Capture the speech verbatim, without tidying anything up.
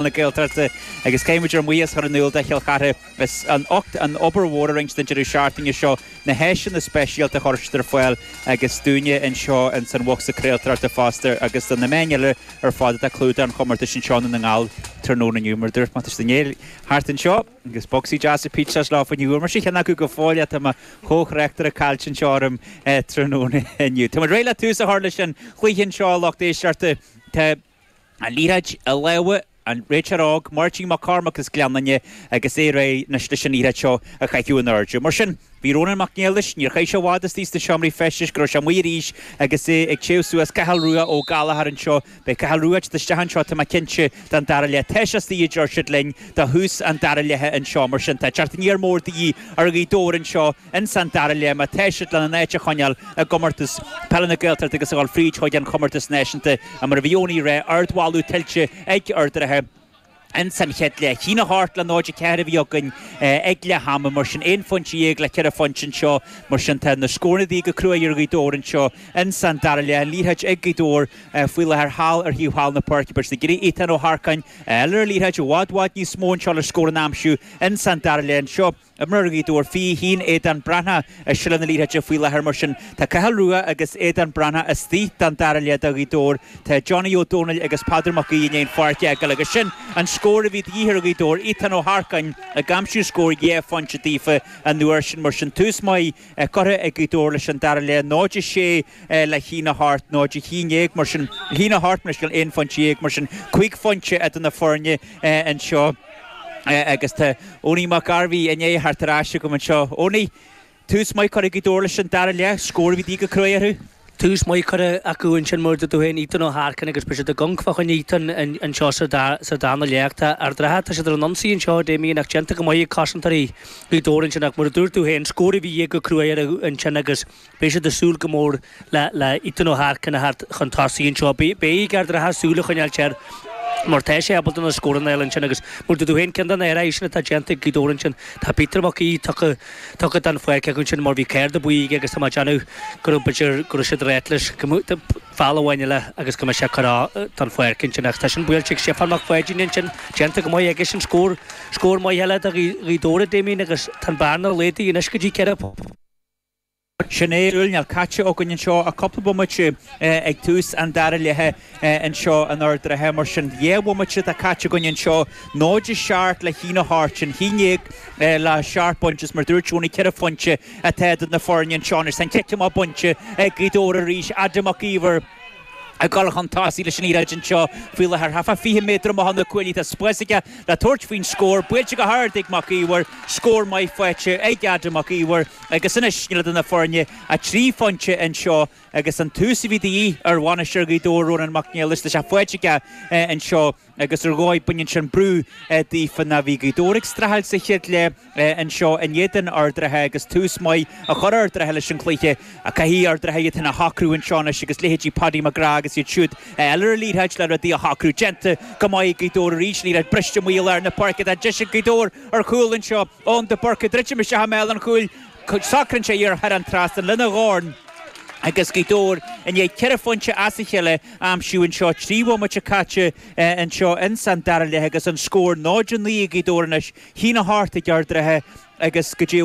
Na Gaeltachta agus caithfidh muid ár mbuíochas a chur in iúl do Chill Chartha as ucht an obair mhór a rinne siad an deireadh seachtaine seo, na háiseanna speisialta a chuir siad ar fáil agus dúinne anseo ins an bhocsa craoltóireachta fosta agus do na meáin eile ar fad atá ag clúdach an chomórtais anseo i nDún na nGall tráthnóna inniu. Mar a dúirt mé, tá siad i ndiaidh theacht anseo agus bocsaí deasa pizzas leo ní bhfuair mise ceann acu go fóill tá mo chomhthráchtaire caillte anseo orm tráthnóna inniu. Tá muid réidh le tús a chur leis an chluiche anseo, a lucht éisteachta. Tá an liathróid i lámha an réiteoir óg, Máirtín Mac Cormaic as Gleann Fhinne agus é réidh anois leis an liathróid seo a chaitheamh in airde. Mar sin, bhí Rónán Mac Niallais, níor chaith sé i bhfad istigh sna seomraí feistis go raibh sé amuigh arís agus é ag téamh suas Cathal Rua Ó Gallchóir anseo. Beidh Cathal Rua ag teacht isteach anseo, tá mé cinnte, don dara leath. Tá sé istigh, a deir siad linn, do thús an dara leatha anseo. Mar sin, tá teacht aniar mór de dhíth ar Ghaoth Dobhair anseo ins an dara leath má tá siad lena n-áit a choinneáil i gcomórtas peile na Gaeltachta agus a dhul fríd chuig an chomórtas náisiúnta. Mar a bhí Eoiní ag rá, ardmholadh tuillte ag Ard an Rátha ins an chéad leath. A haon a hocht le náid a ceathair a bhí againn ag leath ama, mar sin aon phointe dhéag le ceithre phointe anseo, mar sin tá na scóranna de dhíth go cruaidh ar Ghaoth Dobhair anseo ins an dara leath. An liathróid ag Gaoth Dobhair faoi láthair thall ar thaobh thall na páirce, beidh siad ag iarraidh Ethan Ó hEarcáin a fháil ar an liathróid i bhfad bhfad níos mó anseo le scór a aimsiú ins an dara leath anseo. Imreoir Ghaoth Dobhair fiche a haon, Aodán Breathnach i seilbh na liathróide faoi láthair. Mar sin, tá Cathal Rua agus Aodán Breathnach istigh don dara leath do Ghaoth Dobhair. Tá Johnny Ó Domhnaill agus Peadar Mac Aoidh i ndiaidh an pháirc a fhágáil agus sin an scór a bhí de dhíth ar Ghaoth Dobhair, Ethan Ó hEarcáin ag aimsiú scór dhá phointe daofa an uair sin. Mar sin, tús maith curtha ag Gaoth Dobhair leis an dara leath, náid a sé le haon a hocht, náid a haon déag mar sin, a haon a hocht mar sin, aon phointe dhéag mar sin, cúig phointe idir na foirne anseo. Agus tá Owenie Mac Gairbhí i ndiaidh theacht ar ais agam anseo. Owenie, tús maith curtha ag Gaoth Dobhair leis an dara leath, scór a bhí de dhíth go cruaidh orthu. Tús maith curtha acu ansin mar a dúirt tú féin, Ethan Ó hEarcáin agus beidh siad ag amharc fá choinne Ethan anseo sa darna leath. Tá Ard an Rátha, tá siad ar an ionsaí anseo, Damien, ach déanta go maith ag cosantóirí Ghaoth Dobhair ansin ach mar a dúirt tú féin, scór a bhí de dhíth go cruaidh orthu ansin agus Beidh siad ag súil go mór le Ethan Ó hEarcáin a theacht chun tosaigh anseo. Beidh ag Ard an Rátha súil a choinneáilt air mar tá sé ábalta na scóranna a fháil ansin agus mar a dúirt tú féin, ceann de na hathruithe sin atá déanta ag Gaoth Dobhair ansin, tá Peter Mac Aoidh tugtha tugtha den pháirc acu ansin mar bhí cárta buí aige agus tá mé ag déanamh go raibh b'fhéidir go raibh siad ag ráit leis go mbeadh foul amháin eile agus go mbeadh sé curtha den pháirc ansin ach tá sin buailte ag Stiofán Mac Pháidín ansin, déanta go maith aige sin, scór scór maith eile do Ghaoth Dobhair, a Damien, agus tá an bearna laghdaithe anois go dtí ceithre Sin é, níl caite againn anseo ach cúpla bomaite ag tús an dara leatha anseo in Ard an Rátha. Mar sin, dhá bhomaite atá caite againn anseo, náid a seacht le haon a hocht, sin haon déag le seacht bpointe is mar dúirt Tony, ceithre phointe atá idir na foirne anseo anois. Tá an cic amach bainte ag Gaoth Dobhair arís, Adam Mac Íomhair. ag dul chun tosaigh leis an liathróid anseo faoi láthair. Thart fá fiche méadar amach ó na cuaillí tá spás aige le tabhairt faoin scór. Buailte go hard ag Mac Íomhair. Scór maith faighte ag Adam Mac Íomhair agus anois níl idir na foirne ach trí phointe anseo agus an tús a bhí de dhíth ar bhainisteoir Ghaoth Dobhair, Rónán Mac Niallais, tá sé faighte aige anseo agus ar dhóigh baineann sin brú daofa ná bhí Gaoth Dobhair ag streachailt sa chéad leath anseo in éadan Ard an Rátha agus tús maith a chur Ard an Rátha leis an chluiche. Caithfidh Ard an Rátha iad féin a shocrú anseo anois agus leithéidí Paddy McGrath agus iad siúd a fháil ar an liathróid le rudaí a shocrú. Déanta go maith ag Gaoth Dobhair arís, liathróid briste amuigh i lár na páirce. Tá deis ag Gaoth Dobhair ar chúl anseo. Eoin de Búrca ag druidim isteach i mbéal an chúil. Socraíonn sé í thar an trasnán lena dhorn agus Gaoth Dobhair i ndiaidh ceithre phointe as a chéile a aimsiú anseo. Trí bhomaite caite anseo ins an dara leath agus an scór náid a naoi ag Gaoth Dobhair anois, a haon a hocht ag Ard an Rátha agus go dtí